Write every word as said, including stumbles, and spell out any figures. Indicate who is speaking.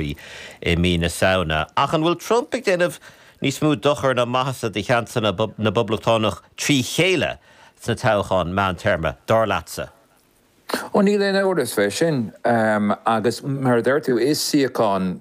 Speaker 1: i mí na Samhna. Ach an bhfuil Trump ag déanamh níos mó dochar ná maitheasa do sheansanna na bPoblachtánach trí chéile sna toghcháin meántéarma dar leatsa?
Speaker 2: Ó níl aon amhras faoi sin um, agus mar a deir tú is suíochán